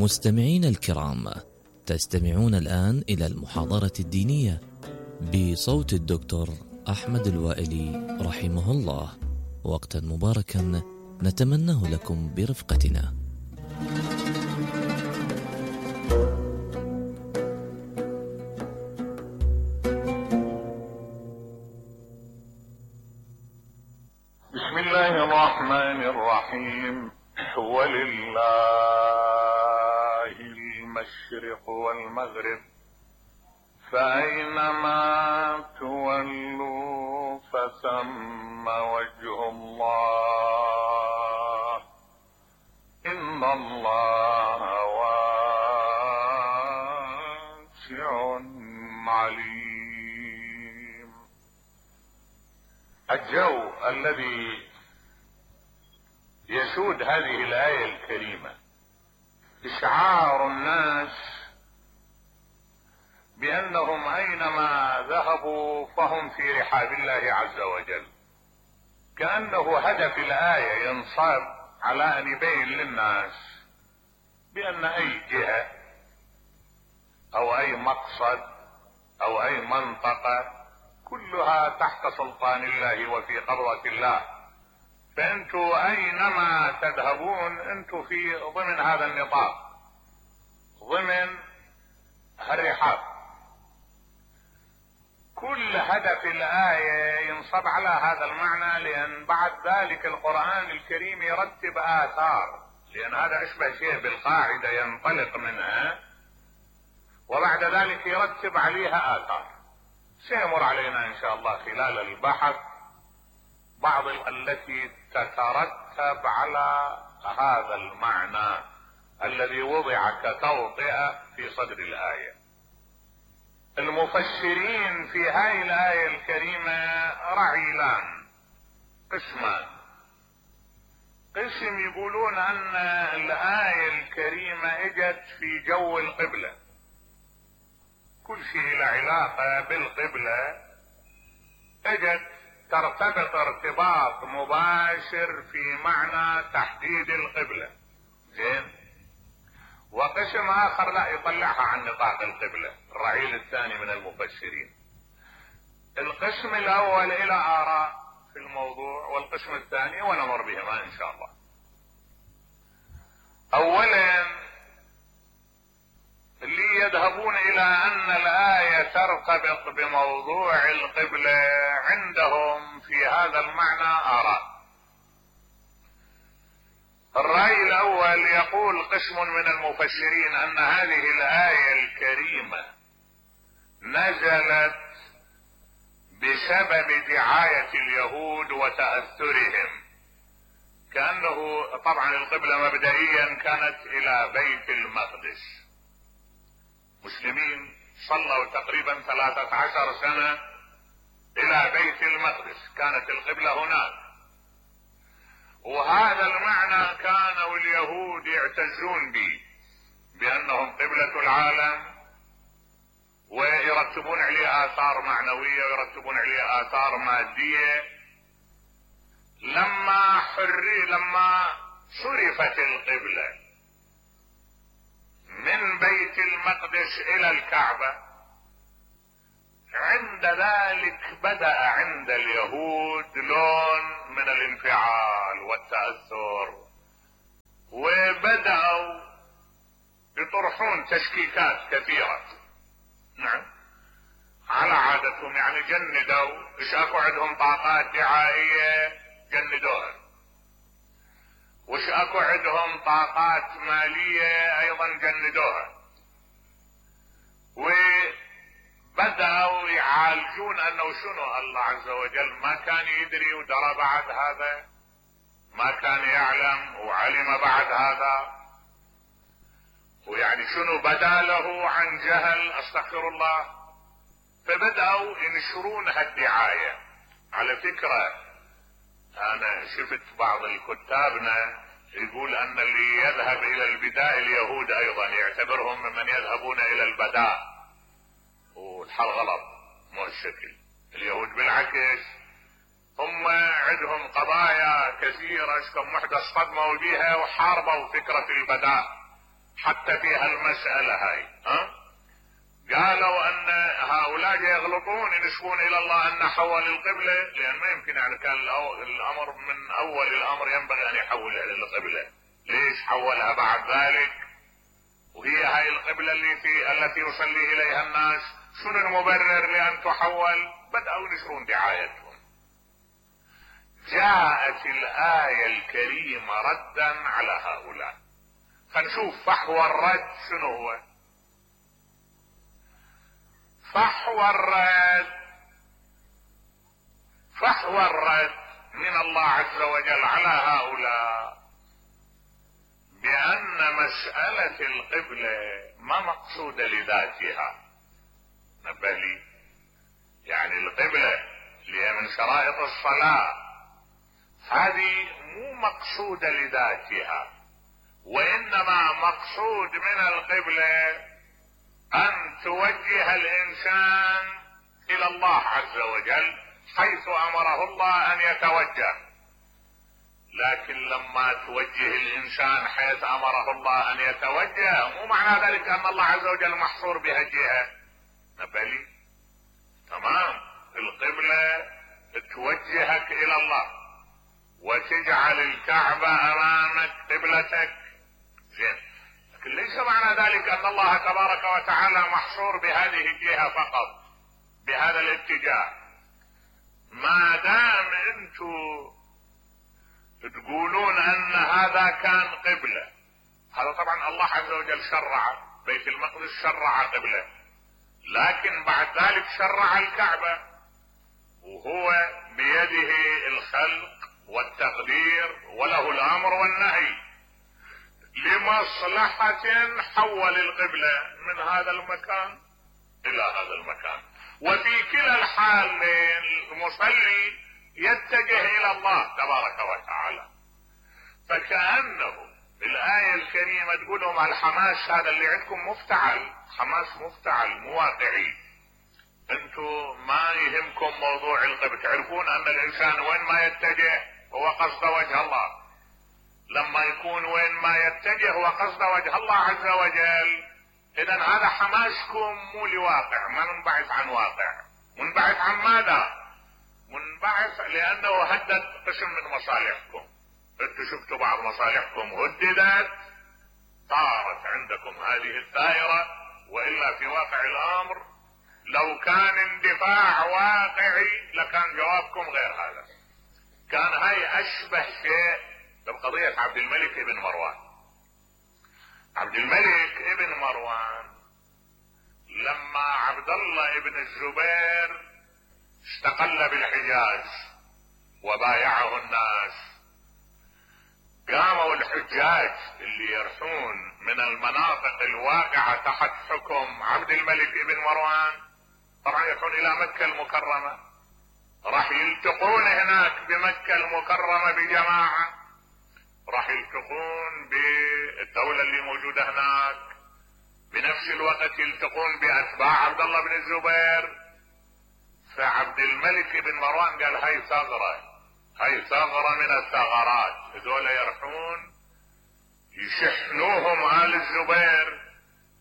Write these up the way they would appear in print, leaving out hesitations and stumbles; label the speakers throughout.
Speaker 1: مستمعين الكرام، تستمعون الآن إلى المحاضرة الدينية بصوت الدكتور أحمد الوائلي رحمه الله. وقتا مباركا نتمناه لكم برفقتنا.
Speaker 2: بسم الله الرحمن الرحيم. ولله المشرق والمغرب فأينما تولوا فثم وجه الله إن الله واسع عليم. الجو الذي يسود هذه الآية الكريمة إشعار الناس بأنهم أينما ذهبوا فهم في رحاب الله عز وجل، كأنه هدف الآية ينصب على أن يبين للناس بأن أي جهة أو أي مقصد أو أي منطقة كلها تحت سلطان الله وفي قبضة الله، فأنتوا أينما تذهبون أنتوا في ضمن هذا النطاق، ضمن الرحاب. كل هدف الآية ينصب على هذا المعنى، لأن بعد ذلك القرآن الكريم يرتب آثار، لأن هذا أشبه شيء بالقاعدة ينطلق منها وبعد ذلك يرتب عليها آثار. سيمر علينا إن شاء الله خلال البحث بعض التي تترتب على هذا المعنى الذي وضع كتوطئة في صدر الآية. المفسرين في هذه الآية الكريمة رعيلان، قسمان. قسم يقولون أن الآية الكريمة اجت في جو القبلة، كل شيء له علاقة بالقبلة اجت ترتبط ارتباط مباشر في معنى تحديد القبلة. زين. وقسم آخر لا، يطلعها عن نطاق القبلة، الرعيل الثاني من المفسرين. القسم الأول إلى آراء في الموضوع، والقسم الثاني ونمر بهما إن شاء الله. أولا اللي يذهبون إلى أن الآية ترتبط بموضوع القبلة عندهم في هذا المعنى آراء. الرأي الأول يقول قسم من المفسرين أن هذه الآية الكريمة نزلت بسبب دعاية اليهود وتأثرهم، كأنه طبعا القبلة مبدئيا كانت إلى بيت المقدس. مسلمين صلوا تقريبا 13 سنة إلى بيت المقدس، كانت القبلة هناك، وهذا المعنى كانوا اليهود يعتزون به بأنهم قبلة العالم، ويرتبون عليه آثار معنوية ويرتبون عليه آثار مادية. لما صرفت القبلة من بيت المقدس إلى الكعبة، عند ذلك بدأ عند اليهود لون من الانفعال والتأثر، وبدأوا يطرحون تشكيكات كثيرة. نعم، على عادتهم، يعني جندوا، ايش اكو عندهم طاقات دعائية جندوها، وش اكو عندهم طاقات مالية ايضا جندوها، وبدأوا يعالجون انه شنو الله عز وجل ما كان يدري ودرى بعد هذا، ما كان يعلم وعلم بعد هذا، ويعني شنو بدا له عن جهل، استغفر الله. فبدأوا ينشرون هالدعاية. على فكرة انا شفت بعض الكتابنا يقول ان اللي يذهب الى البداء اليهود ايضا يعتبرهم ممن يذهبون الى البداء، والحال غلط، مو الشكل. اليهود بالعكس هم عندهم قضايا كثيرة كم وحدة اصطدموا بها وحاربوا فكرة البداء، حتى في هالمسألة هاي. قالوا ان هؤلاء يغلطون ينسبون الى الله ان حول القبلة، لان ما يمكن يعني كان الامر من اول الامر ينبغي ان يحول الى القبلة، ليش حولها بعد ذلك؟ وهي هاي القبلة التي يصلي اليها الناس، شنو المبرر لان تحول؟ بدأوا ينشرون دعايتهم. جاءت الآية الكريمة ردا على هؤلاء. فنشوف فحوى الرد شنو هو. فحوى الرد من الله عز وجل على هؤلاء بأن مسألة القبلة ما مقصودة لذاتها. نبهلي، يعني القبلة اللي هي من شرائط الصلاة هذه مو مقصودة لذاتها، وإنما مقصود من القبلة أن توجه الإنسان إلى الله عز وجل حيث أمره الله أن يتوجه. لكن لما توجه الإنسان حيث أمره الله أن يتوجه مو معنى ذلك أن الله عز وجل محصور بهالجهة. نبهلي، تمام، القبلة توجهك إلى الله وتجعل الكعبة أمامك قبلتك، زين، لكن ليس معنى ذلك أن الله تبارك وتعالى محصور بهذه الجهة فقط، بهذا الاتجاه. ما دام انتم تقولون ان هذا كان قبلة، هذا طبعا الله عز وجل شرع، بيت المقدس شرع قبلة، لكن بعد ذلك شرع الكعبة، وهو بيده الخلق والتقدير وله الامر والنهي. لمصلحة حول القبلة من هذا المكان الى هذا المكان، وفي كلا الحالين المصلي يتجه الى الله تبارك وتعالى. فكأنه الآية الكريمة تقول لهم الحماس هذا اللي عندكم مفتعل، حماس مفتعل مو واقعي. انتم ما يهمكم موضوع القبلة، تعرفون ان الانسان وين ما يتجه هو قصد وجه الله. لما يكون وين ما يتجه هو قصد وجه الله عز وجل، اذا هذا حماسكم مو لواقع، ما منبعث عن واقع. منبعث عن ماذا؟ منبعث لانه هدد قسم من مصالحكم. انتم شفتوا بعض مصالحكم هددت، صارت عندكم هذه الدائرة، والا في واقع الامر لو كان اندفاع واقعي لكان جوابكم غير هذا. كان هاي اشبه شيء بقضية عبد الملك ابن مروان. عبد الملك ابن مروان لما عبد الله ابن الزبير استقل بالحجاز وبايعه الناس، قاموا الحجاج اللي يرحون من المناطق الواقعة تحت حكم عبد الملك ابن مروان، طبعا يرحون الى مكة المكرمة، راح يلتقون هناك بمكة المكرمة بجماعة، راح يلتقون بالدولة اللي موجودة هناك، بنفس الوقت يلتقون باتباع عبد الله بن الزبير. فعبد الملك بن مروان قال هاي ثغرة، هاي ثغرة من الثغرات، هذول يرحون يشحنوهم آل الزبير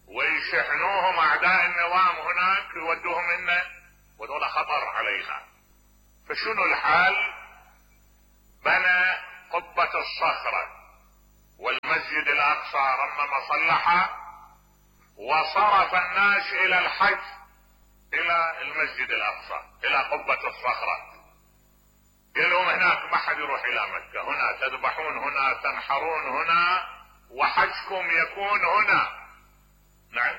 Speaker 2: ويشحنوهم اعداء النظام هناك يودوهم هنا، وذول خطر علينا. فشنو الحال؟ بنى قبة الصخرة والمسجد الاقصى رمم صلحه، وصرف الناس الى الحج الى المسجد الاقصى الى قبة الصخرة. قال لهم هناك ما حد يروح الى مكة، هنا تذبحون، هنا تنحرون، هنا وحجكم يكون هنا. نعم،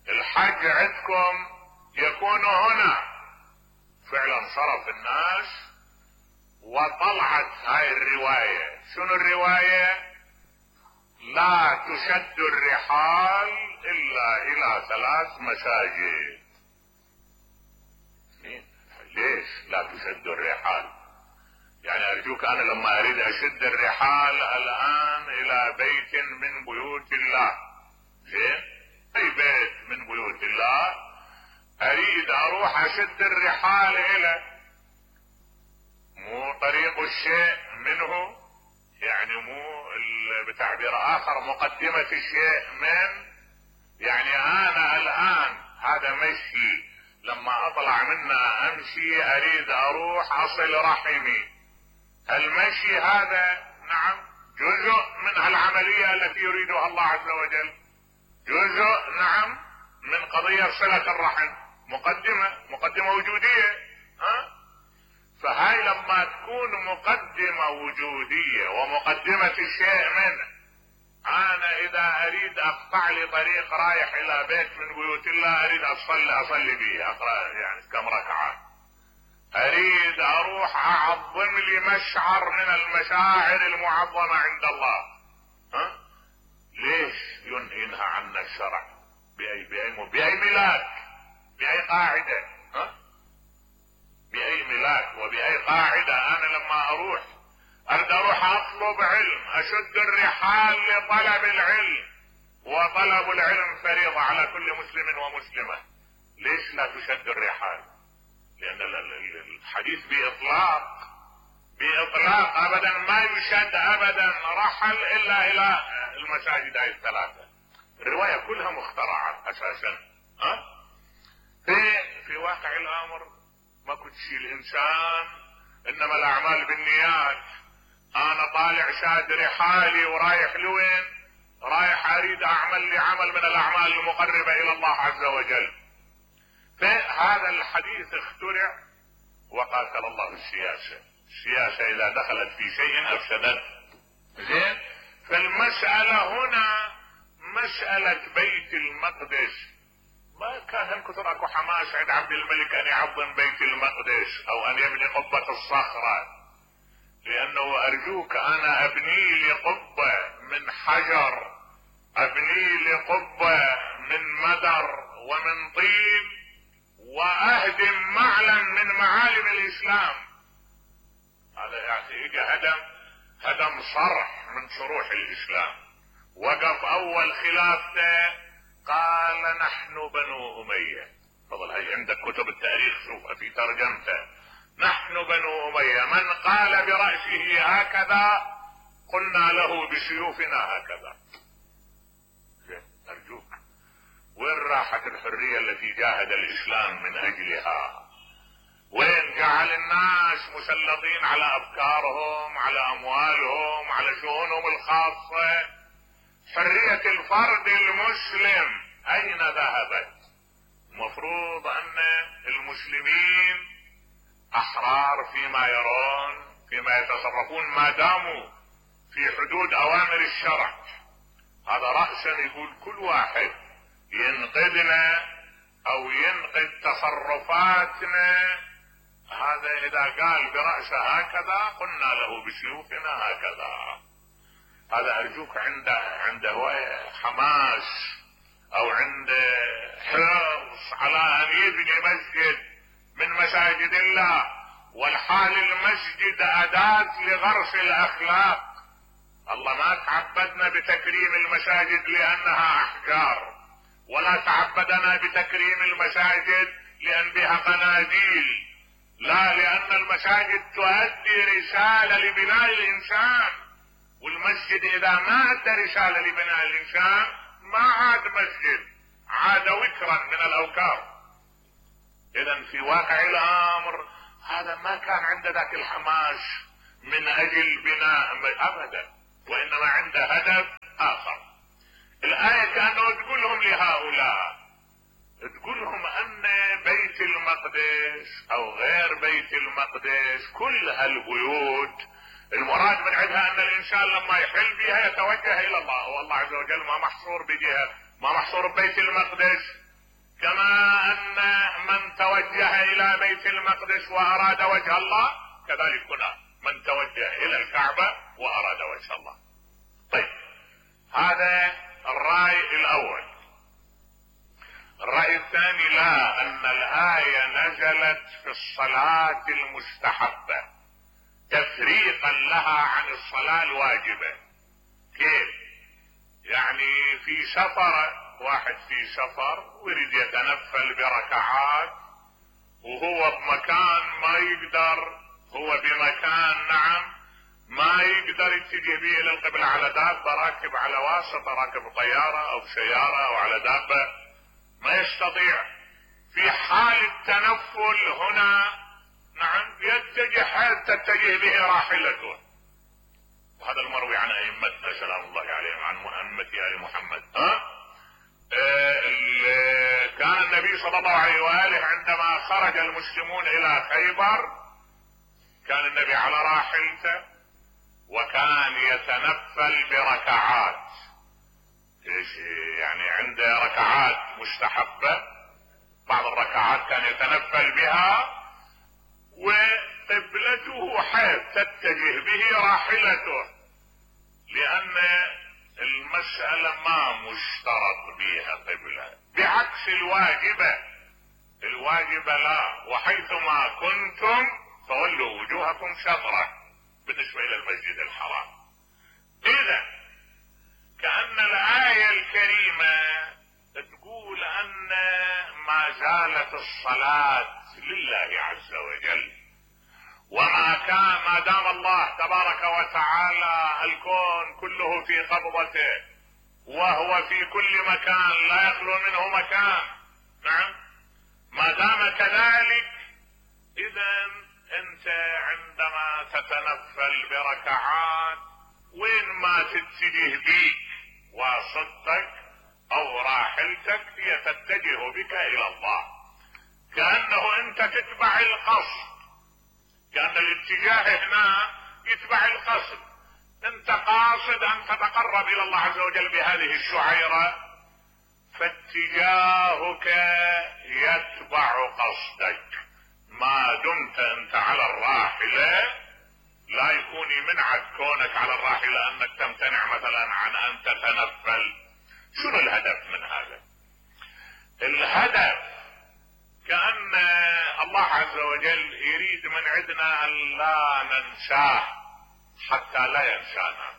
Speaker 2: الحج عندكم يكون هنا. فعلا صرف الناس وطلعت هاي الرواية. شنو الرواية؟ لا تشد الرحال الا الى 3 مساجد. ليش لا تشد الرحال؟ يعني ارجوك انا لما اريد اشد الرحال الان الى بيت من بيوت الله، زين، اي بيت من بيوت الله اريد اروح اشد الرحال الى، مو طريق الشيء منه يعني مو بتعبير اخر مقدمة الشيء من، يعني انا الان هذا مشي، لما اطلع منه امشي اريد اروح اصل رحمي، المشي هذا نعم جزء من العملية التي يريدها الله عز وجل، جزء نعم من قضية صلة الرحم، مقدمة وجودية. فهاي لما تكون مقدمة وجودية ومقدمة الشيء منه، انا اذا اريد اقطع لي طريق رايح الى بيت من بيوت الله، اريد اصلي به، اقرأ يعني كم ركعة، اريد اروح اعظم لي مشعر من المشاعر المعظمة عند الله، ليش ينهينها عنا الشرع؟ بأي ملاك، بأي قاعدة، بأي ملاك وبأي قاعدة؟ انا لما اريد اروح اطلب علم، اشد الرحال لطلب العلم، وطلب العلم فريضة على كل مسلم ومسلمة، ليش لا تشد الرحال؟ لان الحديث بإطلاق ابدا ما يشد ابدا رحل الا الى المساجد هاي الثلاثة. الرواية كلها مخترعة اساسا. في واقع الامر ما كنت شيء الانسان، انما الاعمال بالنيات. انا طالع شاد رحالي ورايح لوين؟ رايح اريد اعمل لي عمل من الاعمال المقربة الى الله عز وجل. فهذا الحديث اخترع وقاتل الله السياسة اذا دخلت في شيء افسدت. زين، فالمسألة هنا مسألة بيت المقدس، ما كان كثر اكو حماس عند عبد الملك ان يعظم بيت المقدس او ان يبني قبة الصخرة، لانه ارجوك انا ابني لي قبة من حجر، ابني لي قبة من مدر ومن طين، واهدم معلم من معالم الاسلام. هذا يعني اجى هدم صرح من صروح الاسلام. وقف اول خلافته قال نحن بنو امية. فضل هاي عندك كتب التاريخ شوفها في ترجمته، نحن بنو امية، من قال برأسه هكذا قلنا له بسيوفنا هكذا. ارجوك، وين راحت الحرية التي جاهد الاسلام من اجلها؟ وين جعل الناس مسلطين على افكارهم، على اموالهم، على شؤونهم الخاصة؟ حرية الفرد المسلم اين ذهبت؟ مفروض ان المسلمين احرار فيما يرون، فيما يتصرفون، ما داموا في حدود اوامر الشرع. هذا رأسا يقول كل واحد ينقدنا او ينقد تصرفاتنا، هذا اذا قال برأسه هكذا قلنا له بسيوفنا هكذا. هذا ارجوك عنده حماس او عنده حرص على ان يبني مسجد من مساجد الله، والحال المسجد اداة لغرس الاخلاق. الله ما تعبدنا بتكريم المساجد لانها احجار، ولا تعبدنا بتكريم المساجد لان بها قناديل، لا، لان المساجد تؤدي رسالة لبناء الانسان، والمسجد اذا ما ادى رسالة لبناء الانسان ما عاد مسجد، عاد وكرا من الاوكار. اذا في واقع الامر هذا ما كان عنده ذاك الحماس من اجل بناء ابدا، وانما عنده هدف اخر. الآية كانوا تقول لهم لهؤلاء، تقول لهم ان بيت المقدس او غير بيت المقدس كل هالبيوت المراد من عندها ان الانسان لما يحل بها يتوجه الى الله، والله عز وجل ما محصور بجهة، ما محصور ببيت المقدس، كما ان من توجه الى بيت المقدس واراد وجه الله كذلك هنا من توجه الى الكعبة واراد وجه الله. طيب، هذا الرأي الاول. الرأي الثاني، لا، ان الآية نزلت في الصلاة المستحبة تفريقا لها عن الصلاة الواجبة. كيف؟ يعني في سفر، واحد في سفر ويريد يتنفل بركعات وهو بمكان ما يقدر، هو بمكان نعم ما يقدر يتجه به الى القبلة على دابة، راكب على واسطة، راكب طيارة او سيارة او على دابة، ما يستطيع. في حال التنفل هنا نعم يتجه حيث تتجه به راحلته. وهذا المروي عن ائمتنا سلام الله عليهم، عن ائمة ال محمد. كان النبي صلى الله عليه واله عندما خرج المسلمون الى خيبر كان النبي على راحلته، وكان يتنفل بركعات. يعني عنده ركعات مستحبة، بعض الركعات كان يتنفل بها، وقبلته حيث تتجه به راحلته، لأن المسألة ما مشترط بها قبلة، بعكس الواجبة لا، وحيثما كنتم فولوا وجوهكم شطرة بالنسبة إلى المسجد الحرام. إذا كأن الآية الكريمة تقول أن ما زالت الصلاة لله عز وجل، ما دام الله تبارك وتعالى الكون كله في قبضته، وهو في كل مكان لا يخلو منه مكان. نعم، ما دام كذلك إذا أنت عندما تتنفل بركعات وين ما تتجه بيك واسطتك أو راحلتك هي تتجه بك إلى الله، كأنه أنت تتبع القصد، كأن الاتجاه هنا يتبع القصد. أنت قاصد أن تتقرب إلى الله عز وجل بهذه الشعيرة، فاتجاهك يتبع قصدك. ما دمت أنت على الراحلة لا يكون يمنعك كونك على الراحلة أنك تمتنع مثلا عن أن تتنفل. شنو الهدف من هذا؟ الهدف كأن الله عز وجل يريد من عندنا أن لا ننساه حتى لا ينسانا.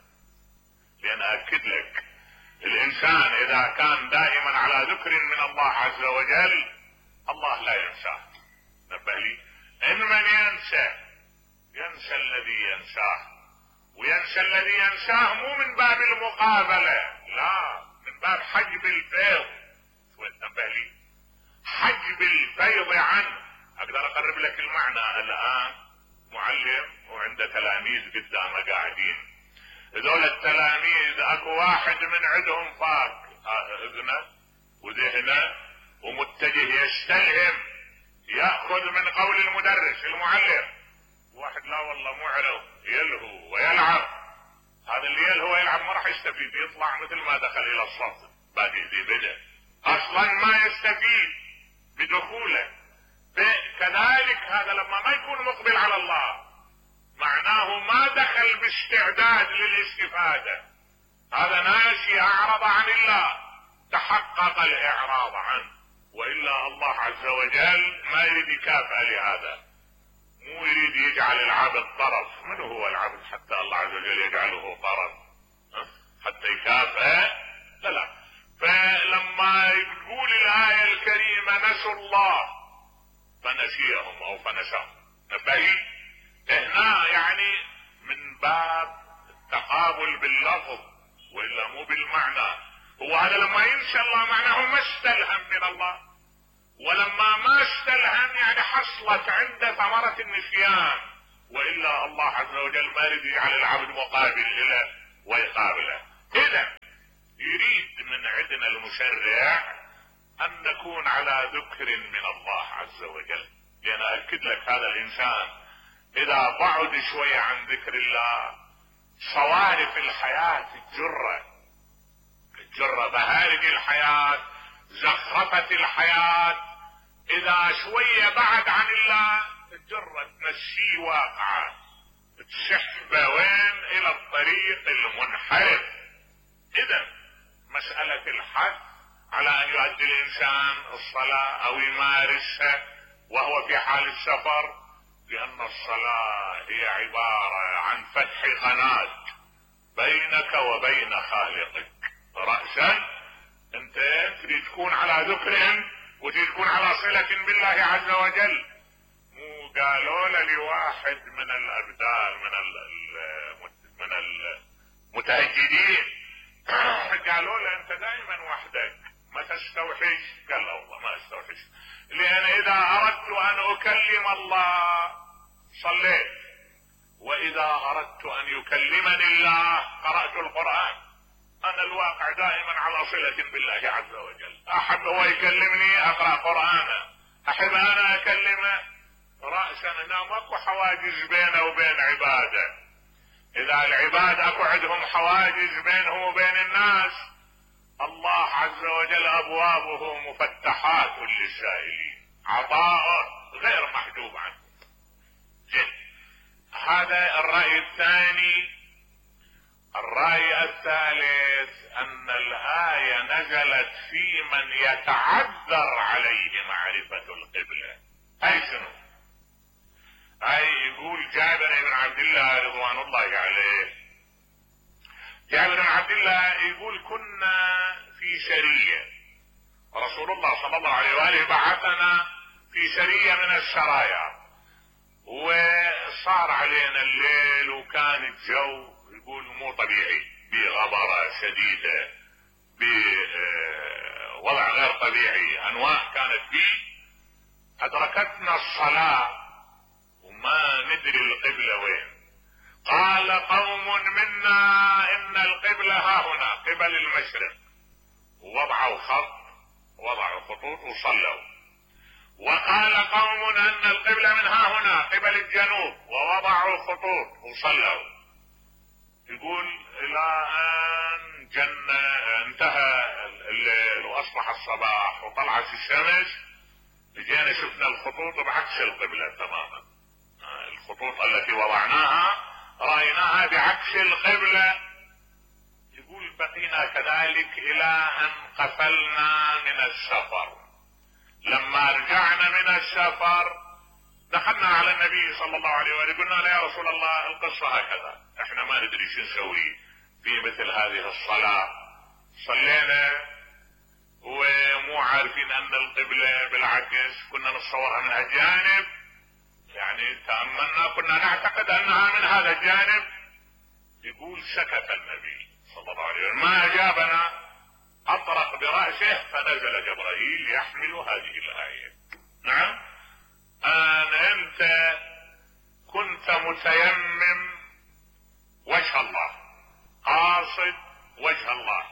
Speaker 2: لأن أكد لك الإنسان إذا كان دائما على ذكر من الله عز وجل الله لا ينساه. نبه لي، إن من ينسى الذي ينساه، وينسى الذي ينساه مو من باب المقابلة، لا، من باب حجب الفيض. نبه لي، حجب الفيض عنه. اقدر اقرب لك المعنى. الان معلم وعنده تلاميذ قدامه قاعدين، هذول التلاميذ اكو واحد من عندهم فاك اذنه وذهنه ومتجه يستلهم، ياخذ من قول المدرس المعلم. واحد لا والله معرض يلهو ويلعب. هذا اللي يلهو ويلعب ما راح يستفيد، يطلع مثل ما دخل الى الصف باقي ذي بدا، اصلا ما يستفيد بدخوله. كذلك هذا لما ما يكون مقبل على الله معناه ما دخل باستعداد للاستفادة، هذا ناسي اعرض عن الله، تحقق الاعراض عنه. والا الله عز وجل ما يريد يكافئ لهذا، مو يريد يجعل العبد طرف. من هو العبد حتى الله عز وجل يجعله طرف حتى يكافئ؟ لا. فلما يقول الآية الكريمة نسوا الله فنسيهم او فنساهم، نبهي هنا يعني من باب التقابل باللفظ والا مو بالمعنى. هو هذا لما ينسى الله معناه ما استلهم من الله، ولما ما استلهم يعني حصلت عنده ثمرة النسيان، والا الله عز وجل ما يريد يجعل العبد مقابل له ويقابله. اذا يريد من عندنا المشرع ان نكون على ذكر من الله عز وجل. لان اكد لك هذا الانسان اذا بعد شوية عن ذكر الله صوارف الحياة الجرة بهارج الحياة زخرفة الحياة، اذا شوية بعد عن الله الجرة تنسيه واقعة، تسحبه وين؟ الى الطريق المنحرف. اذا مسألة الحث على ان يؤدي الانسان الصلاة او يمارسها وهو في حال السفر، لان الصلاة هي عبارة عن فتح قناة بينك وبين خالقك. رأسا انت تريد تكون على ذكر وتريد تكون على صلة بالله عز وجل. مو قالوا لواحد من الابدال من من المتهجدين. قالوا له انت دائما وحدك ما تستوحش؟ قال لا والله ما استوحش، لان اذا اردت ان اكلم الله صليت، واذا اردت ان يكلمني الله قرأت القرآن. انا الواقع دائما على صلة بالله عز وجل، احب هو يكلمني اقرأ قرآنه، احب انا اكلمه رأسا، انا ماكو حواجز بينه وبين عباده. اذا العباد اكو عندهم حواجز بينهم وبين الناس، الله عز وجل ابوابه مفتحات للسائلين، عطاء غير محجوب عنه. هذا الرأي الثاني. الرأي الثالث ان الآية نزلت في من يتعذر عليه معرفة القبلة. اي شنو؟ اي يقول جابر بن عبد الله رضوان الله عليه، جابر بن عبد الله يقول كنا في سرية، رسول الله صلى الله عليه وآله بعثنا في سرية من السرايا، وصار علينا الليل وكان الجو يقول مو طبيعي، بغبرة شديدة، بوضع غير طبيعي، انواع كانت فيه. ادركتنا الصلاة وما ندري القبلة وين. قال قوم منا ان القبلة ها هنا قبل المشرق، ووضعوا خط، وضعوا خطوط وصلوا. وقال قوم ان القبلة من ها هنا قبل الجنوب، ووضعوا خطوط وصلوا. يقول الى ان انتهى الليل واصبح الصباح وطلعت الشمس، جينا شفنا الخطوط بعكس القبلة تماما. الخطوط التي وضعناها رأيناها بعكس القبلة. يقول بقينا كذلك الى ان قفلنا من السفر. لما رجعنا من السفر دخلنا على النبي صلى الله عليه وآله، قلنا له يا رسول الله القصة هكذا، احنا ما ندري شو نسوي في مثل هذه الصلاة، صلينا ومو عارفين ان القبلة بالعكس، كنا نتصورها من هالجانب، يعني تأملنا كنا نعتقد انها من هذا الجانب. يقول سكت النبي صلى الله عليه وسلم ما اجابنا، اطرق برأسه فنزل جبرائيل يحمل هذه الآية. نعم، انت كنت متيمم وجه الله، قاصد وجه الله،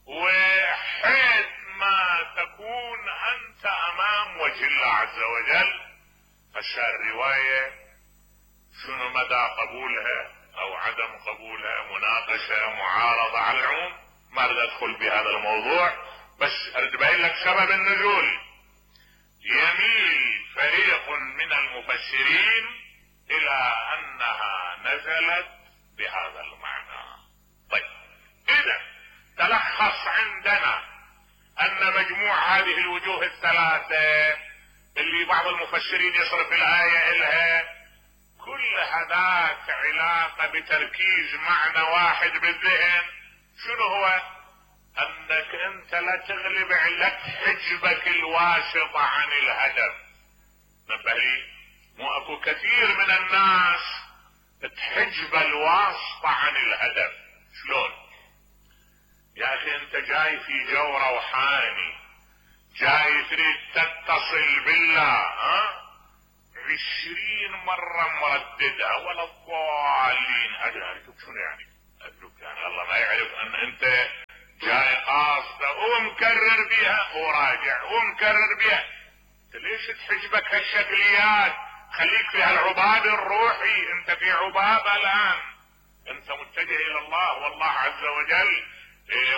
Speaker 2: وحيث ما تكون انت امام وجه الله عز وجل. الرواية شنو مدى قبولها او عدم قبولها، مناقشة، معارضة، على العموم ما اريد ادخل بهذا الموضوع، بس اريد ابين لك سبب النزول. يميل فريق من المفسرين الى انها نزلت بهذا المعنى. طيب اذا تلخص عندنا ان مجموع هذه الوجوه الثلاثة اللي بعض المفسرين يصرف الآية إلها، كل هذاك علاقة بتركيز معنى واحد بالذهن. شنو هو؟ انك انت لا تغلب علك حجبك الواسطة عن الهدف. نبه لي، مو اكو كثير من الناس تحجب الواسطة عن الهدف. شلون؟ يا اخي انت جاي في جو روحاني، جاي تريد تتصل بالله، 20 مرة مرددها ولا الضالين. ادرك شنو يعني؟ ادرك يعني الله ما يعرف ان انت جاي قاصدة ومكرر بها وراجع ومكرر بها. انت ليش تحجبك هالشكليات؟ خليك في هالعباد الروحي. انت في عبادة الان، انت متجه الى الله، والله عز وجل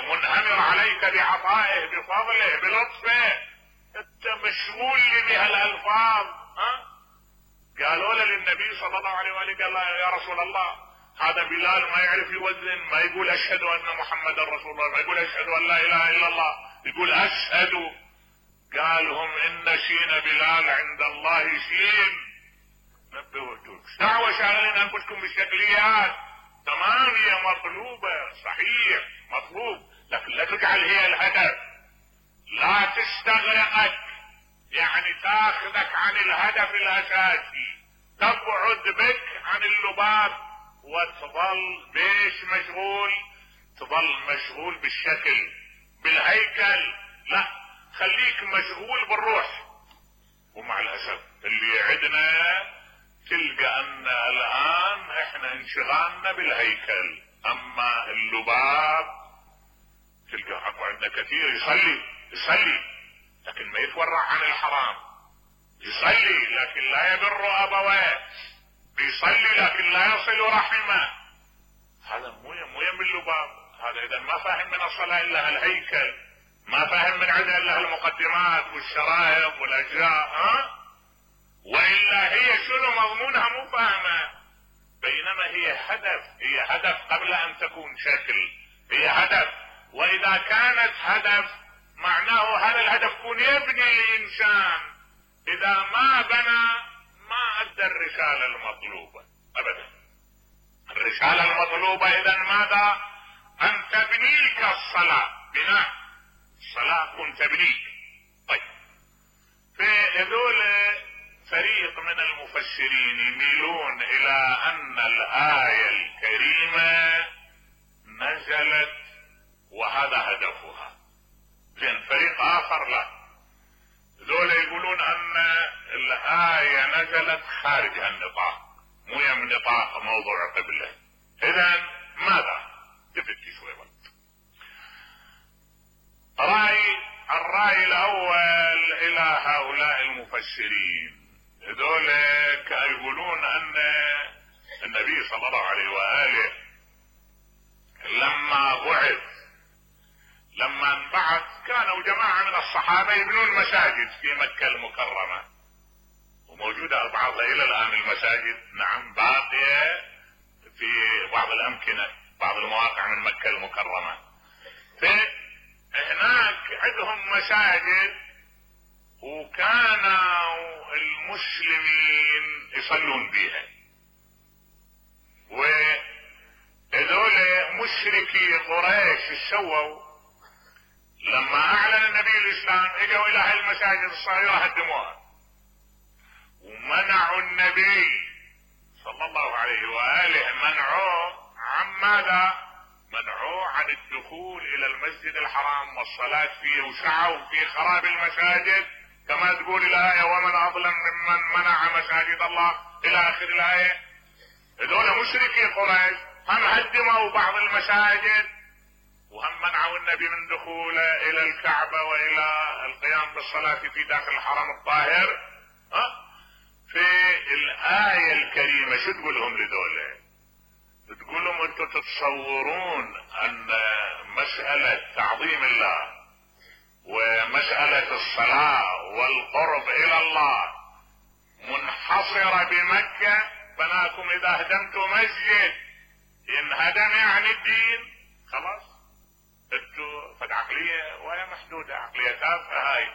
Speaker 2: منهمر عليك بعطائه، بفضله، بلطفه. انت مشغول بهالالفاظ. قالوا له للنبي صلى الله عليه وآله، قال يا رسول الله هذا بلال ما يعرف يوزن، ما يقول اشهد ان محمد رسول الله، ما يقول اشهد ان لا اله الا الله، يقول اشهد. قالهم ان شين بلال عند الله شين. نبهتوك دعوة شاغلين انفسكم بالشكليات. تمام، هي مطلوبة، صحيح مطلوب، لكن لا تجعل هي الهدف، لا تستغرقك، يعني تاخذك عن الهدف الاساسي، تبعد بك عن اللباب وتظل بيش مشغول؟ تظل مشغول بالشكل بالهيكل؟ لا، خليك مشغول بالروح. ومع الاسف اللي عندنا تلقى ان الان احنا انشغالنا بالهيكل، اما اللباب تلقى اكو عندنا كثير يصلي لكن ما يتورع عن الحرام، يصلي لكن لا يبر ابويه، بيصلي لكن لا يصل رحمه. هذا مو يم اللباب، هذا اذا ما فاهم من الصلاه الا الهيكل، ما فاهم من عندها الا المقدمات والشرائط والاجزاء، والا هي شنو مضمونها مو فاهمه. بينما هي هدف قبل ان تكون شكل، هي هدف. واذا كانت هدف معناه هذا الهدف يكون يبني الانسان، اذا ما بنى ما ادى الرساله المطلوبه ابدا. الرساله المطلوبه اذا ماذا؟ ان تبنيك الصلاه، بناء الصلاه كن تبنيك. طيب، فهذول فريق من المفسرين يميلون الى ان الايه الكريمه نزلت وهذا هدفها، زين فريق اخر لا، ذولا يقولون ان الايه نزلت خارج النطاق، مو يم نطاق موضوع قبله. اذا ماذا؟ تفتي شوي وقت. الراي الاول الى هؤلاء المفسرين، ذولا يقولون ان النبي صلى الله عليه واله لما انبعث كانوا جماعة من الصحابة يبنون مساجد في مكة المكرمة، وموجودة بعضها الى الان المساجد، نعم باقية في بعض الامكنة، بعض المواقع من مكة المكرمة. فهناك عندهم مساجد، وكانوا المسلمين يصلون بها، وهذول مشركي قريش سووا لما اعلن النبي الاسلام اجوا الى هاي المساجد الصغيرة هدموها، ومنعوا النبي صلى الله عليه واله، منعوه عن ماذا؟ منعوه عن الدخول الى المسجد الحرام والصلاة فيه، وسعوا في خراب المساجد كما تقول الايه ومن اظلم ممن منع مساجد الله الى اخر الايه. هذول مشركي قريش هم هدموا بعض المساجد، وهم منعوا النبي من دخوله الى الكعبة والى القيام بالصلاة في داخل الحرم الطاهر. في الآية الكريمة شو تقول لهم لذولا؟ تقول لهم انتم تتصورون ان مسألة تعظيم الله ومسألة الصلاة والقرب الى الله منحصرة بمكة؟ بناكم اذا هدمتوا مسجد ينهدم يعني الدين خلاص؟ انتوا فد عقلية وهي محدودة، عقلية تافهة هاي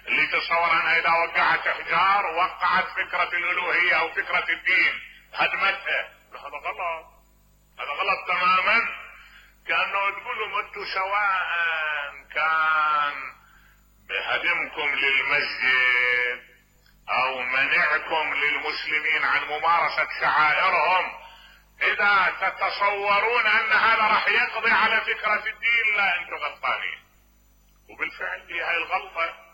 Speaker 2: اللي تصور انها اذا وقعت احجار وقعت فكرة الالوهية او فكرة الدين هدمتها. هذا غلط، هذا غلط تماما. كأنه تقول لهم انتوا سواء كان بهدمكم للمسجد او منعكم للمسلمين عن ممارسة شعائرهم، اذا تتصورون ان هذا راح يقضي على فكرة الدين، لا انتوا غلطانين. وبالفعل هي هاي الغلطة،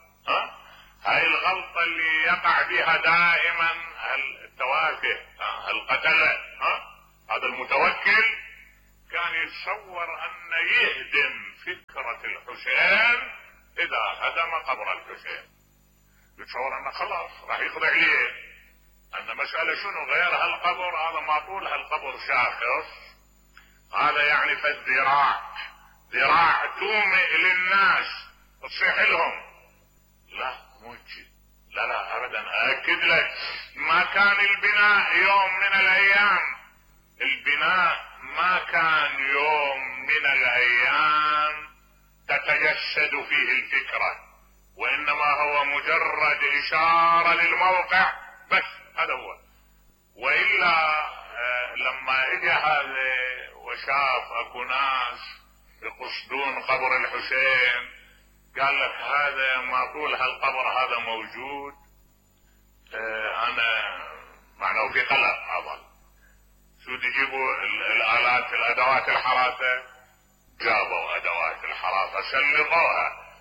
Speaker 2: هاي الغلطة اللي يقع بها دائما التوافه، القتلة. هذا المتوكل كان يتصور ان يهدم فكرة الحسين اذا هدم قبر الحسين، يتصور انه خلاص راح يقضي عليه، ان مسألة شنو غير هالقبر، هذا ما طول هالقبر شاخص، هذا يعني ذراع تومئ للناس تصيح لهم. لا مو هيك، لا ابدا. اكد لك ما كان البناء يوم من الايام، البناء ما كان يوم من الايام تتجسد فيه الفكرة، وانما هو مجرد اشارة للموقع بس، هذا هو. والا لما اجى هذا وشاف اكو ناس يقصدون قبر الحسين قال لك هذا ما طول هالقبر هذا موجود، انا معناه في قلق اظل. شو يجيبوا الالات الادوات الحراسة، جابوا ادوات الحراسة سلطوها،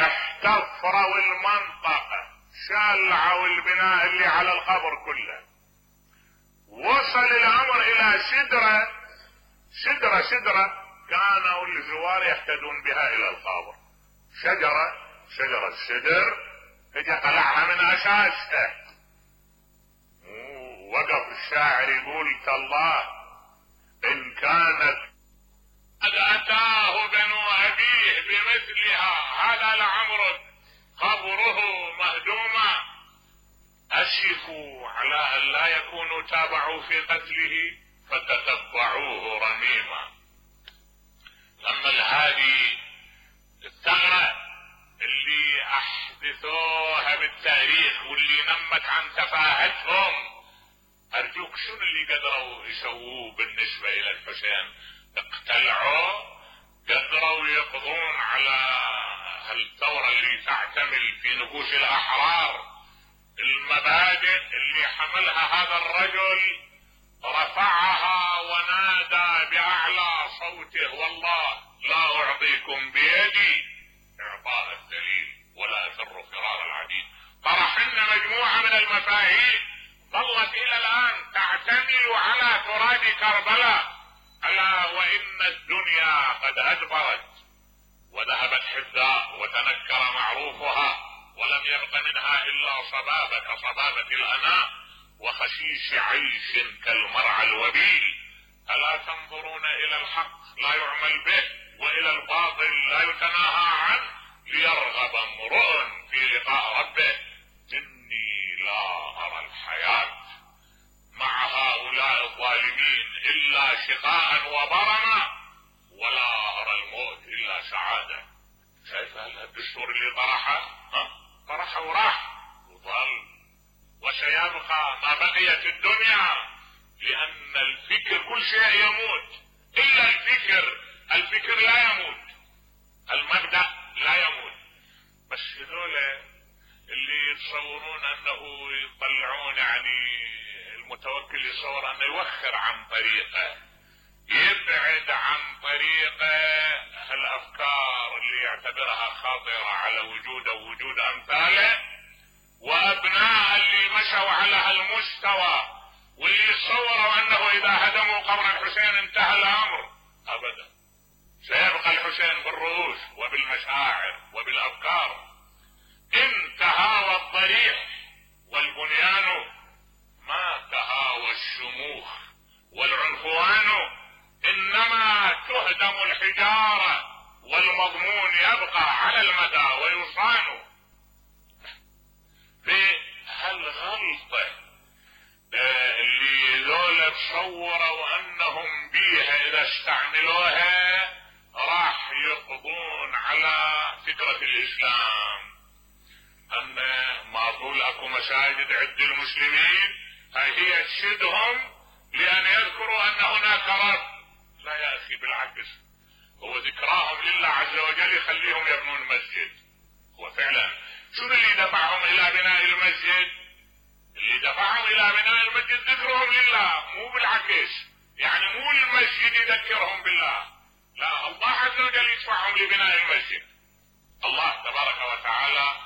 Speaker 2: احتفروا المنطقة، شلعوا البناء اللي على القبر كله. وصل الامر الى شجرة كانوا الزوار يهتدون بها الى القبر، شجرة السدر، اجى قلعها من اساسها. وقف الشاعر يقول تالله ان كانت قد اتاه بنو ابيه بمثلها هذا لعمر قبره مهدوما، اشفوا على ان لا يكونوا تابعوا في قتله فتتبعوه رميما. لما الهادي الثغرة اللي احدثوها بالتاريخ واللي نمت عن تفاهتهم، ارجوك شنو اللي قدروا يسووه بالنسبة الى الحسين؟ اقتلعوا، قدروا يقضون على هالثورة اللي تعتمل في نفوس الاحرار. المبادئ اللي حملها هذا الرجل رفعها ونادى باعلى صوته والله لا اعطيكم بيدي اعطاء الذليل ولا افر فرار العديد. طرح لنا مجموعة من المفاهيم ظلت الى الان تعتمل على تراب كربلاء، الا وان الدنيا قد ادبرت وذهبت حداء وتنكر معروفها، ولم يبق منها الا صبابة كصبابة الاناء وخشيش عيش كالمرعى الوبيل. الا تنظرون الى الحق لا يعمل به والى الباطل لا يتناهى عنه ليرغب امرؤ في لقاء ربه. اني لا ارى الحياة مع هؤلاء الظالمين الا شقاء وبرما، ولا ارى الموت الا سعادة. شايف الدستور اللي طرحه وراح وظل وسيبقى ما بقيت الدنيا، لان الفكر كل شيء يموت الا الفكر لا يموت، المبدأ لا يموت. بس هذول اللي يتصورون انه يطلعون، يعني المتوكل يتصور انه يوخر عن طريقه، يبعد عن طريقه هالافكار اللي يعتبرها خاطرة على وجوده ووجود امثاله، وابناء اللي مشوا على هالمستوى واللي يتصوروا انه اذا هدموا قبر الحسين انتهى الامر. ابدا، سيبقى الحسين بالرؤوس وبالمشاعر وبالافكار. ان تهاوى الضريح والبنيان ما تهاوى الشموخ والعنفوان، انما تهدم الحجارة والمضمون يبقى على المدى ويصان. في هالغلطة اللي ذولا تصوروا انهم بيها اذا استعملوها راح يقضون على فكرة الاسلام، ان ما طول اكو مساجد عند المسلمين هي تشدهم لان يذكروا ان هناك رب. لا يا اخي، بالعكس، هو ذكراهم لله عز وجل يخليهم يبنون مسجد. هو فعلا شنو اللي دفعهم الى بناء المسجد؟ اللي دفعهم الى بناء المسجد ذكرهم لله، مو بالعكس. يعني مو المسجد يذكرهم بالله، لا، الله عز وجل يدفعهم لبناء المسجد. الله تبارك وتعالى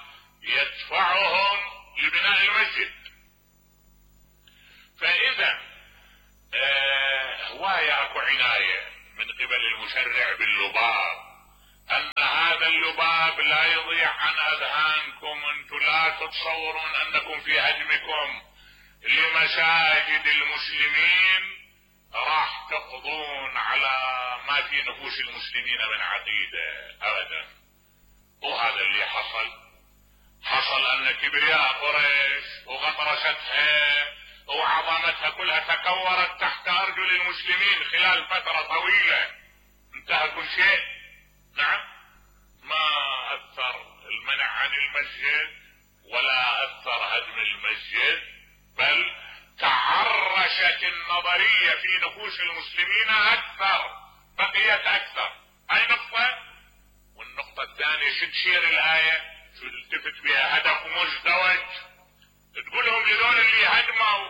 Speaker 2: يدفعهم لبناء المسجد. فاذا هواية اكو عناية من قبل المشرع باللباب، ان هذا اللباب لا يضيع عن اذهانكم. انتم لا تتصورون انكم في هدمكم لمساجد المسلمين راح تقضون على ما في نفوس المسلمين من عقيدة ابدا. وهذا اللي حصل ان كبرياء قريش وغطرستها وعظمتها كلها تكورت تحت ارجل المسلمين خلال فترة طويلة. انتهى كل شيء. نعم، ما اثر المنع عن المسجد ولا اثر هدم المسجد، بل تعرشت النظرية في نفوس المسلمين اكثر، بقيت اكثر. هاي نقطة. والنقطة الثانية شو تشير الآية؟ شو تلتفت بها؟ هدف مزدوج. تقولهم لذول اللي هدموا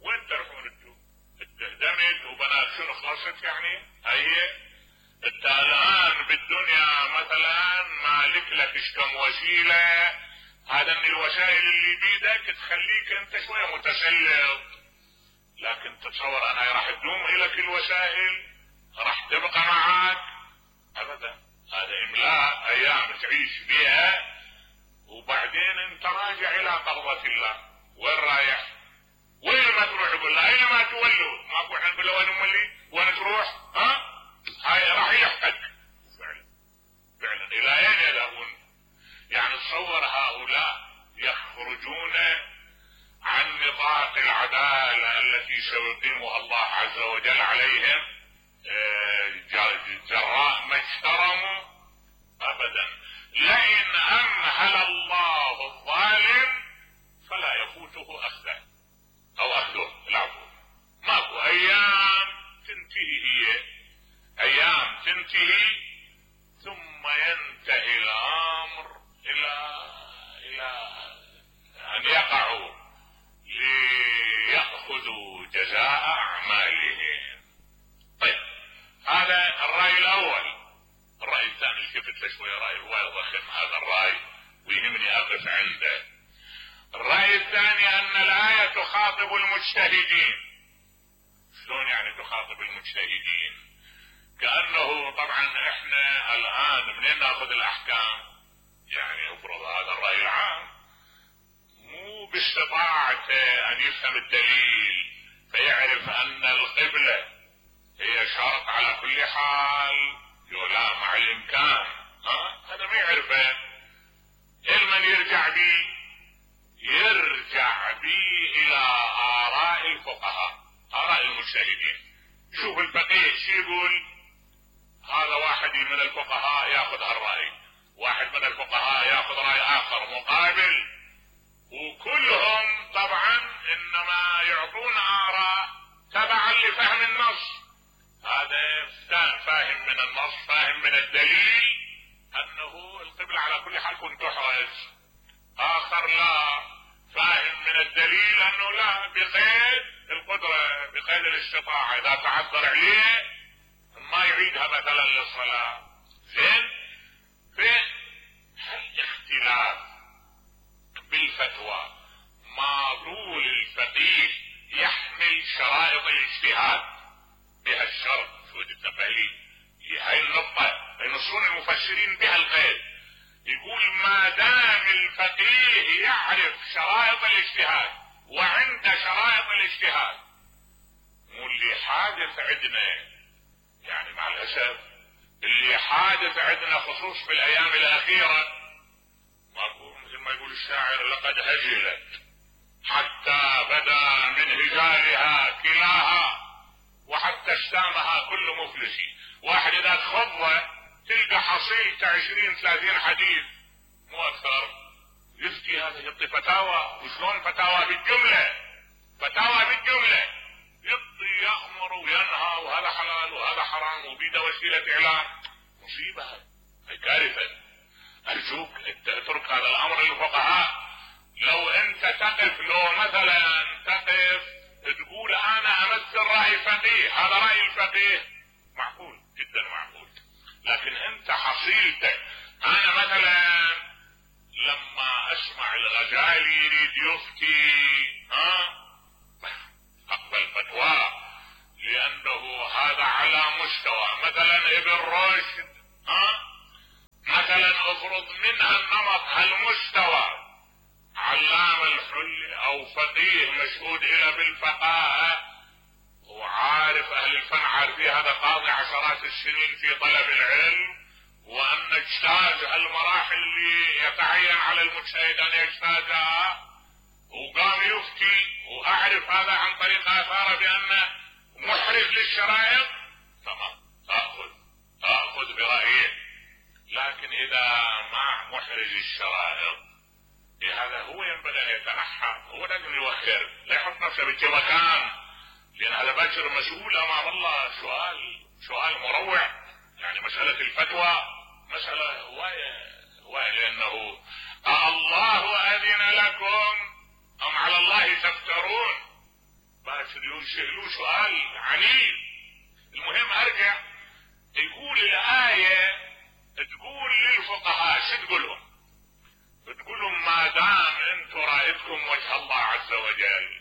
Speaker 2: وين تروحون انتم؟ التهدم بنت وبنات شنو خلصت يعني؟ هي انت الان بالدنيا مثلا مالك لك ايش كم وسيله، هذا من الوسائل اللي بيدك تخليك انت شويه متسلط، لكن تتصور انها راح تدوم الك الوسائل؟ راح تبقى معك؟ ابدا. هذا املاء ايام تعيش بها وبعدين انت راجع الى قبضة الله. وين رايح؟ وين ما تروح يقول له اينما تولوا، ماكو احنا نقول له وين مولي؟ وين تروح؟ هاي راح يحتك فعلا الى اين يذهبون؟ يعني تصور هؤلاء يخرجون عن نطاق العدالة التي سيقيمها الله عز وجل عليهم جراء ما اجترموا؟ ابدا. لئن امهل الله الظالم فلا يفوته اخذه او اخذه، العفو. ماكو ايام تنتهي، هي ايام تنتهي ثم ينتهي الامر الى ان يقعوا ليأخذوا جزاء اعمالهم. طيب هذا الرأي الاول. الرأي الثاني التفت له شوية، رأي الوايد ضخم هذا الرأي ويهمني اقف عنده. الرأي الثاني ان الآية تخاطب المجتهدين. شلون يعني تخاطب المجتهدين؟ كأنه طبعا احنا الان منين ناخذ الاحكام؟ يعني افرض هذا الرأي العام مو باستطاعته ان يفهم الدليل فيعرف ان القبلة هي شرط على كل حال، لا مع الامكان، هذا ما يعرفه. من يرجع بي؟ يرجع بي الى اراء الفقهاء، اراء المجتهدين. شوف الفقيه شو يقول، هذا واحد من الفقهاء ياخذ هالرأي، واحد من الفقهاء ياخذ رأي اخر مقابل، وكلهم طبعا انما يعطون اراء تبعا لفهم النص. هذا فاهم من النص، فاهم من الدليل انه القبلة على كل حال كنت تحرز. اخر لا، فاهم من الدليل انه لا، بقيد القدرة، بقيد الاستطاعة، اذا تعذر عليه ما يعيدها مثلا للصلاة. زين؟ الاختلاف بالفتوى ما طول الفقيه يحمل شرائط الاجتهاد بها الشرط. شو التفاهيم هاي النقطة ينصون المفسرين بها القيد. يقول ما دام الفقيه يعرف شرائط الاجتهاد وعند شرائط الاجتهاد، مو اللي حادث عندنا، يعني مع الاسف اللي حادث عندنا خصوص في الايام الاخيرة، ماكو مثل ما يقول الشاعر لقد هجلت حتى بدا من هجالها كلاها وحتى اشتامها كل مفلس. واحد اذا تخض تلقى حصيلته 20-30 حديث مو اكثر، يفتي هذا، يعطي فتاوى. وشلون فتاوى؟ بالجملة، فتاوى بالجملة، يعطي يأمر وينهى، وهذا حلال وهذا حرام، وبيده وسيلة اعلان. مصيبة، هاي كارثة. ارجوك اترك هذا الامر للفقهاء. لو انت تقف، لو مثلا تقف تقول انا امثل رأي فقيه، هذا رأي الفقيه، معقول جدا معقول. لكن انت حصيلتك، انا مثلا لما اسمع الغزالي يريد يفتي اقبل فتوى، لانه هذا على مستوى. مثلا ابن رشد مثلا افرض منها النمط هالمستوى، علام الحل او فقيه مشهود الى بالفقاهة وعارف اهل الفن عارفين، هذا قاضي عشرات السنين في طلب العلم، وان اجتاز المراحل اللي يتعين على المجتهد ان يجتازها، وقام يفتي، واعرف هذا عن طريق اثاره بانه محرز للشرائط، تمام اخذ برأيه. لكن اذا ما محرز الشرائط، هذا هو ينبغي ان يتنحى، هو لازم يوخر، لا يحط نفسه بالمكان، لان هذا باكر مسؤول امام الله. سؤال مروع. يعني مسألة الفتوى مسألة هواية، لانه الله اذن لكم ام على الله تفترون. باكر له سؤال عنيف. المهم ارجع، يقول الآية تقول للفقهاء شو تقولهم؟ تقولهم ما دام انتم رأيتكم وجه الله عز وجل،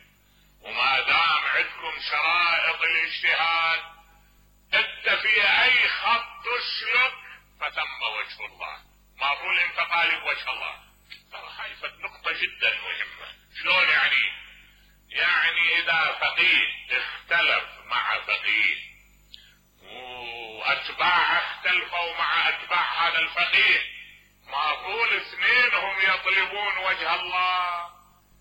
Speaker 2: وما دام عندكم شرائط الاجتهاد، انت في اي خط تسلك فثم وجه الله، ما تقول انت طالب وجه الله. ترى هاي نقطة جدا مهمة. شلون يعني؟ يعني اذا فقيه اختلف مع فقيه واتباعه اختلفوا مع اتباع هذا الفقيه، ما طول اثنينهم يطلبون وجه الله،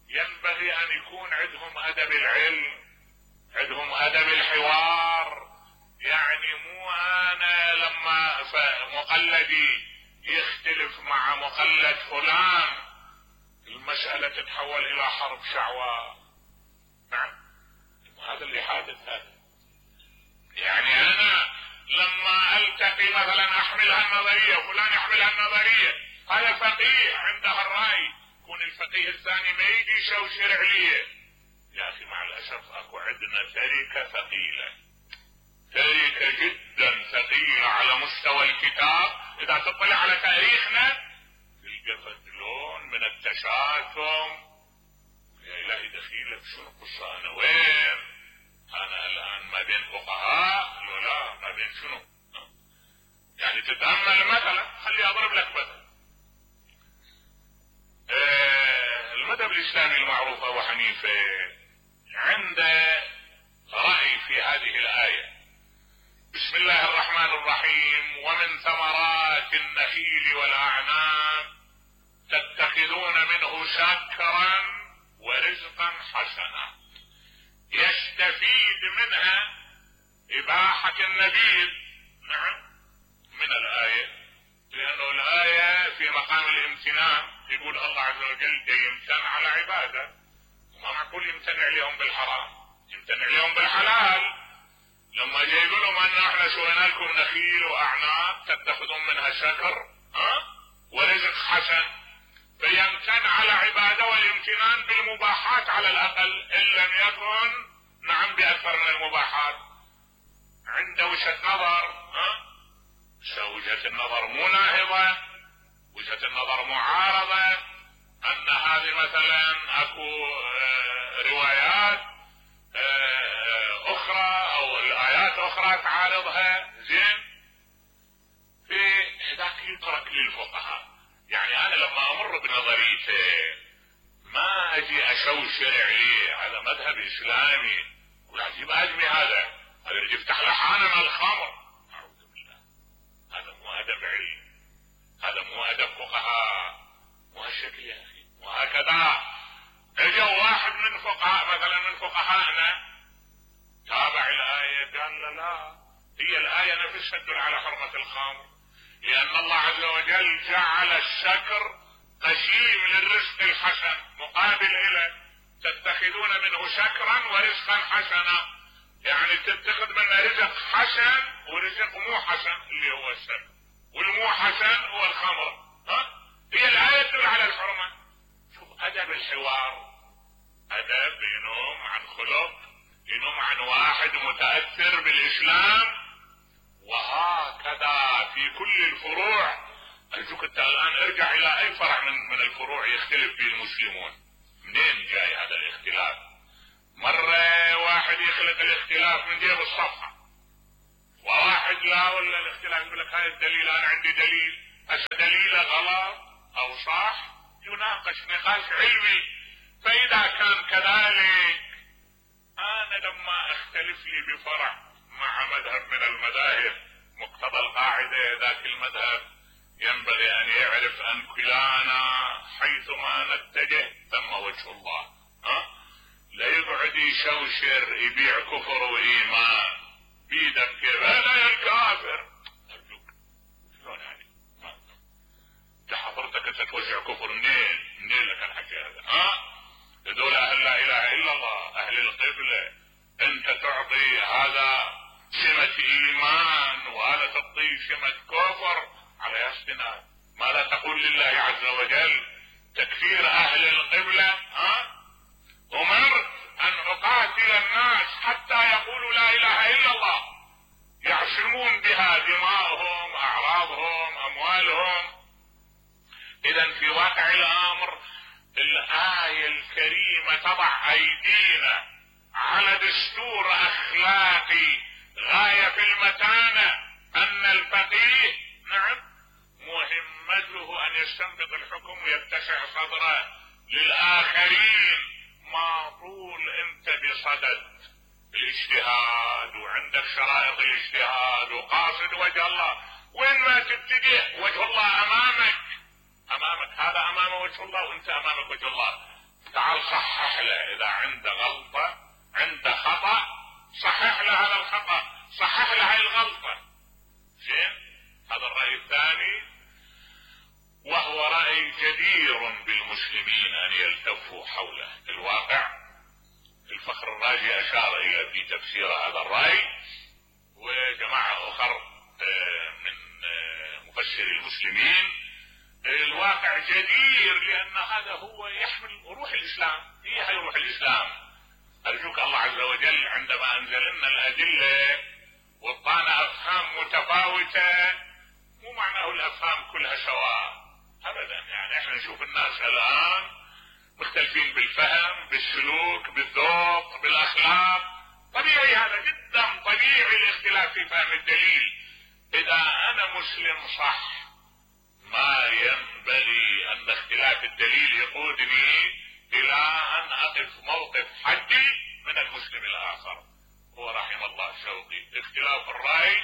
Speaker 2: ينبغي ان يكون عندهم ادب العلم، عندهم ادب الحوار. يعني مو انا لما مقلدي يختلف مع مقلد فلان المسألة تتحول الى حرب شعواء. نعم، هذا اللي حادث. هذا يعني انا لما التقي مثلا احملها النظرية، فلان يحملها النظرية، هذا فقيه عنده الرأي، يكون الفقيه الثاني ما يجي يشوشر عليه. يا اخي مع الاسف اكو عندنا تركة ثقيلة، تركة جدا ثقيلة على مستوى الكتاب. اذا تطلع على تاريخنا تلقى فدلون من التشاتم. يا الهي دخيلك شنو قصة؟ انا وين؟ انا الان ما بين فقهاء لا ما بين شنو؟ يعني تتأمل مثلا، خلي اضرب لك مثلا. المذهب الاسلامي المعروف ابو حنيفة عنده رأي في هذه الآية: بسم الله الرحمن الرحيم، ومن ثمرات النخيل والأعناب تتخذون منه سكرا ورزقا حسنا. يستفيد منها إباحة النبيذ. نعم، من الآية، لأنه الآية في مقام الامتنان. يقول الله عز وجل يمتن على عباده، وما معقول يمتنع لهم بالحرام، يمتنع لهم بالحلال. لما جاي يقول لهم ان احنا سوينا لكم نخيل واعناب تتخذون منها سكر ورزق حسن، فيمتن على عباده والامتنان بالمباحات على الاقل، ان لم يكن نعم باكثر من المباحات. عنده وجهة نظر، وجهة النظر مو ناهضة، وجهة النظر معارضة، ان هذه مثلا اكو روايات اخرى او الايات اخرى تعارضها. زين، في هذاك يترك للفقهاء. يعني انا لما امر بنظريته ما اجي اشوشر عليه، هذا مذهب اسلامي والعجيب ادمي هذا يجي يفتح لحانا من الخمر. اعوذ بالله، هذا مو ادب علم، هذا مو ادب فقهاء، مو هالشكل يا اخي. وهكذا اجا واحد من فقهاء مثلا من فقهائنا تابع الآية قال لا، هي الآية نفسها تدل على حرمة الخمر، لأن الله عز وجل جعل السكر قسيم للرزق الحسن مقابل إليه، تتخذون منه سكرا ورزقا حسنا. يعني تتخذ منه رزق حسن ورزق مو حسن اللي هو السكر، والمو حسن هو الخمر. هي الآية تدل على الحرمة. شوف أدب الحوار، أدب ينوم عن خلق، ينوم عن واحد متأثر بالإسلام. وهكذا في كل الفروع. أرجوك أنت الآن ارجع إلى أي فرع من الفروع يختلف فيه المسلمون، منين جاي هذا الاختلاف؟ مرة واحد يخلق الاختلاف من جيب الصفحة، وواحد لا، ولا الاختلاف يقول لك هاي الدليل أنا عندي دليل، هسه دليله غلط أو صح، يناقش نقاش علمي. فإذا كان كذلك، أنا لما أختلف لي بفرع مع مذهب من المذاهب، مقتضى القاعدة ذاك المذهب ينبغي أن يعرف أن كلانا حيثما نتجه ثم وجه الله. لا يقعد يشوشر يبيع كفر وإيمان بيدك كيف لا الكافر. أرجوك، شلون يعني؟ انت حضرتك تتوزع كفر منين لك الحكي هذا؟ هذول اهل لا اله الا الله، اهل القبلة، انت تعطي هذا سمة ايمان وهذا تعطيه سمة كفر على ياسنا. ما لا تقول لله عز وجل تكفير اهل القبلة؟ امرت ان اقاتل الناس حتى حتى يقولوا لا اله الا الله، يعصمون بها دماءهم، اعراضهم، اموالهم. اذا في واقع الامر الآية الكريمة تضع ايدينا على دستور اخلاقي غاية في المتانة، ان الفقيه نعم مهمته ان يستنبط الحكم ويتسع صدره للاخرين، ما طول انت بصدد الاجتهاد وعندك شرائط الاجتهاد وقاصد وجه الله، وين ما تبتدئ وجه الله امامك، هذا امام وجه الله وانت امامك وجه الله. تعال صحح له، اذا عنده غلطة عنده خطأ صحح له هذا الخطأ، صحح له هاي الغلطة. زين، هذا الرأي الثاني، وهو رأي جدير بالمسلمين ان يلتفوا حوله. الواقع الفخر الرازي اشار الى في تفسير هذا الرأي، وجماعة اخر من مفسري المسلمين. الواقع جدير لان هذا هو يحمل روح الاسلام، هي روح الاسلام. ارجوك الله عز وجل عندما انزل لنا الادله وطانا افهام متفاوته، مو معناه الافهام كلها سواء ابدا. يعني احنا نشوف الناس الان مختلفين بالفهم، بالسلوك، بالذوق، بالاخلاق، طبيعي، هذا جدا طبيعي الاختلاف في فهم الدليل. اذا انا مسلم صح ما ينبغي ان اختلاف الدليل يقودني الى ان اقف موقف حدي من المسلم الاخر. هو رحم الله شوقي، اختلاف الرأي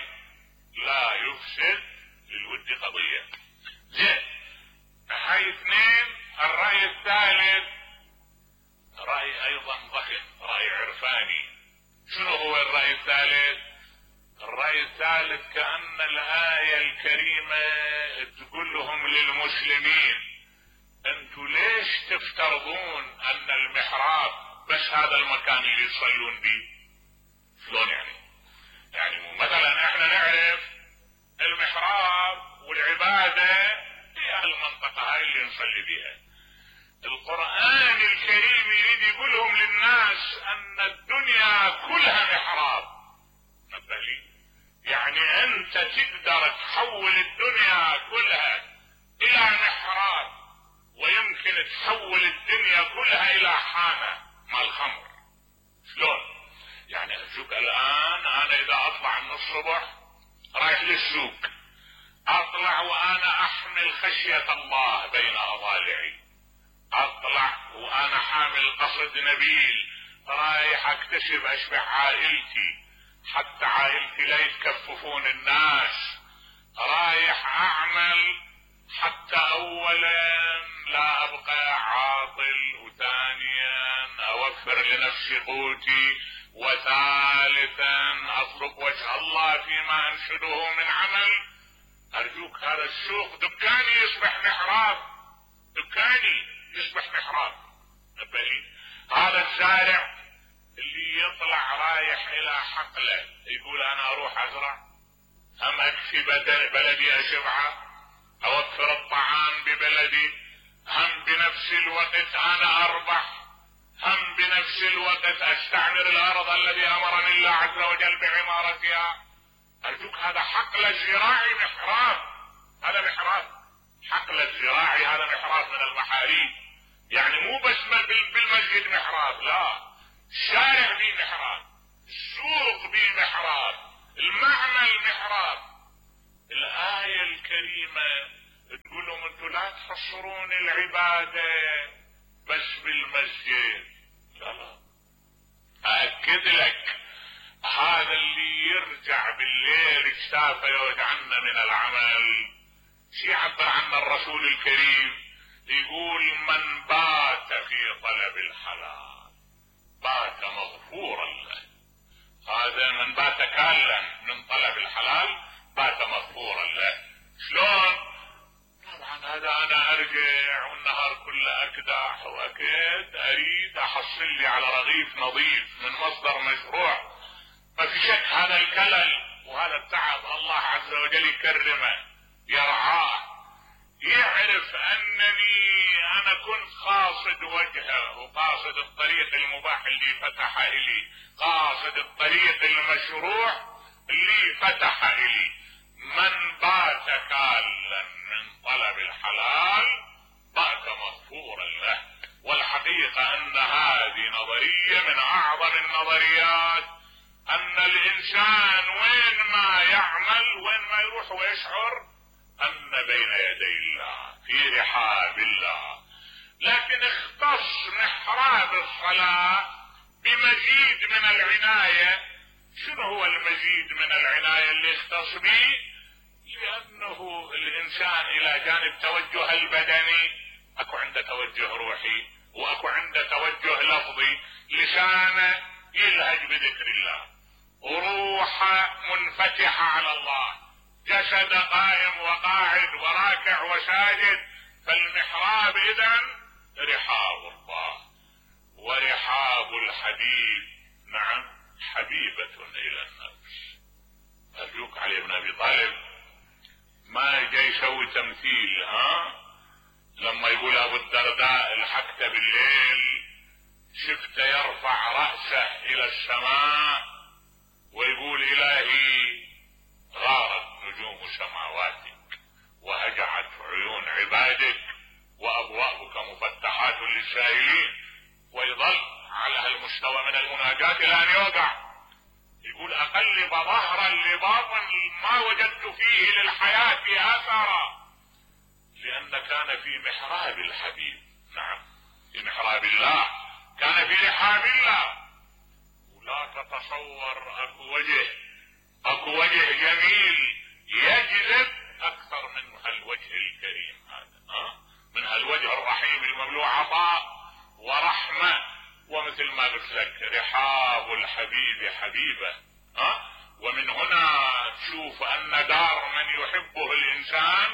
Speaker 2: لا يفسد للود قضية. زين، هاي اثنين. الرأي الثالث رأي ايضا ضخم، رأي عرفاني. شنو هو الرأي الثالث؟ الرأي الثالث كأن الآية الكريمة تقول لهم للمسلمين انتوا ليش تفترضون ان المحراب بس هذا المكان اللي يصلون به؟ شلون يعني مثلا احنا نعرف المحراب والعبادة هي المنطقة هاي اللي نصلي بها. القرآن الكريم يريد يقولهم للناس ان الدنيا كلها محراب. نبه لي، يعني انت تقدر تحول الدنيا كلها الى محراب، ويمكن تحول الدنيا كلها الى حانة مال خمر. شلون؟ يعني ارجوك الان انا اذا اطلع من الصبح رايح للسوق، اطلع وانا احمل خشية الله بين اضالعي، اطلع وانا حامل قصد نبيل رايح اكتسب اشبع عائلتي حتى عائلتي لا يتكففون الناس، رايح اعمل حتى اولا لا ابقى عاطل، وثانيا اوفر لنفسي قوتي، وثالثا اطلب وجه الله فيما انشده من عمل. ارجوك هذا السوق دكاني يصبح محراب، دكاني يصبح محراب. نبهي، هذا الزارع اللي يطلع رايح الى حقله يقول انا اروح ازرع، هم اكفي بلدي اشبعه، اوفر الطعام ببلدي، هم بنفس الوقت انا اربح، هم بنفس الوقت استعمر الارض الذي امرني الله عز وجل بعمارتها. ارجوك هذا حقل الزراعي محراب، هذا محراب، حقل الزراعي هذا محراب من المحاريب. يعني مو بس بالمسجد محراب، لا، الشارع به محراب، السوق به محراب، المعمل محراب. الآية الكريمة تقول لهم انتوا لا تحصرون العبادة بس بالمسجد، لا، أأكد لك هذا اللي يرجع بالليل اجتافه يوجعنا من العمل. شي يعبر عنه الرسول الكريم، يقول من بات في طلب الحلال بات مغفورا له. هذا من بات كالا من طلب الحلال بات مغفورا له. شلون؟ طبعا هذا انا ارجع والنهار كله اكدح واكد، اريد احصل لي على رغيف نظيف من مصدر مشروع. ما في شك هذا الكلل وهذا التعب الله عز وجل يكرمه، يرعاه، يعرف انني انا كنت قاصد وجهه وقاصد الطريق المباح اللي فتح الي، قاصد الطريق المشروع اللي فتح الي. من بات كالا من طلب الحلال بات مغفورا له. والحقيقة ان هذه نظرية من اعظم النظريات، ان الانسان وين ما يعمل وين ما يروح ويشعر ان بين يدي الله في رحاب الله. لكن اختص محراب الصلاة بمزيد من العناية. شنو هو المزيد من العناية اللي اختص به؟ لانه الانسان الى جانب توجه البدني اكو عنده توجه روحي واكو عنده توجه لفظي. لسانه يلهج بذكر الله، وروحه منفتحة على الله، جسد قائم وقاعد وراكع وساجد. فالمحراب اذن رحاب الله، ورحاب الحبيب نعم حبيبة الى النفس. ارجوك علي بن ابي طالب ما جاي يسوي تمثيل. لما يقول ابو الدرداء الحقت بالليل شفته يرفع رأسه الى السماء ويقول الهي غارت نجوم سماواتك وهجعت عيون عبادك وابوابك مفتحات للسائلين، ويظل على هالمستوى من المناجاة الى ان يوقع. يقول اقلب ظهرا لباطن ما وجدت فيه للحياة اثرا، لان كان في محراب الحبيب. نعم في محراب الله، كان في رحاب الله. ولا تتصور اكو وجه جميل يجذب اكثر من هالوجه الكريم هذا، من هالوجه الرحيم المملوء عطاء ورحمة. ومثل ما قلت لك رحاب الحبيب حبيبه. ومن هنا تشوف ان دار من يحبه الانسان،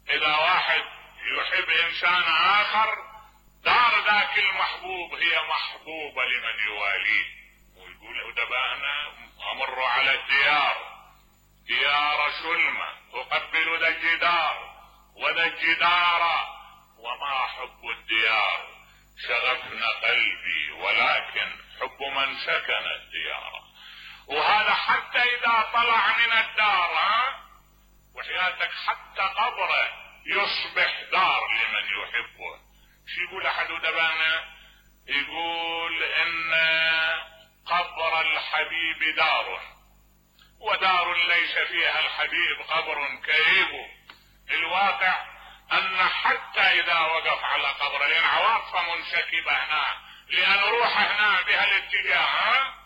Speaker 2: اذا واحد يحب انسان اخر دار ذاك المحبوب هي محبوبة لمن يواليه. ويقول أدبانا امر على ديار سلمة اقبل ذا الجدار وذا الجدار وما حب الديار شغفنا قلبي ولكن حب من سكن الديار. وهذا حتى اذا طلع من الدار وحياتك حتى قبره يصبح دار لمن يحبه. شو يقول احد ادبانا؟ يقول ان قبر الحبيب دار، ودار ليس فيها الحبيب قبر كئيب. الواقع ان حتى اذا وقف على قبره لان عواطفه منسكبه هنا، لان روحه هنا بها الاتجاه.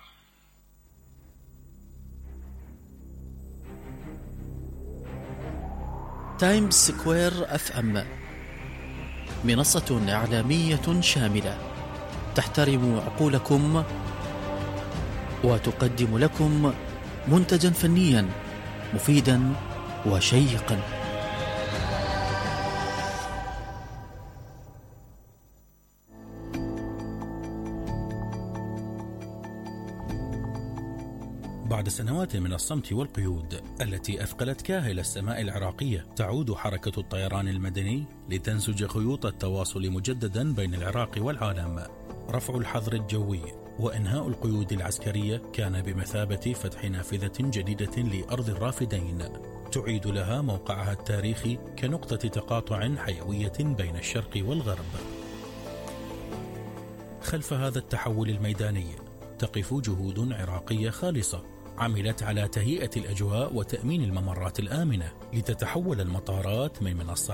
Speaker 3: تايمز سكوير FM منصة إعلامية شاملة تحترم عقولكم وتقدم لكم منتجا فنيا مفيدا وشيقا.
Speaker 4: بعد سنوات من الصمت والقيود التي أثقلت كاهل السماء العراقية، تعود حركة الطيران المدني لتنسج خيوط التواصل مجددا بين العراق والعالم. رفع الحظر الجوي وإنهاء القيود العسكرية كان بمثابة فتح نافذة جديدة لأرض الرافدين، تعيد لها موقعها التاريخي كنقطة تقاطع حيوية بين الشرق والغرب. خلف هذا التحول الميداني تقف جهود عراقية خالصة عملت على تهيئة الأجواء وتأمين الممرات الآمنة لتتحول المطارات من منصات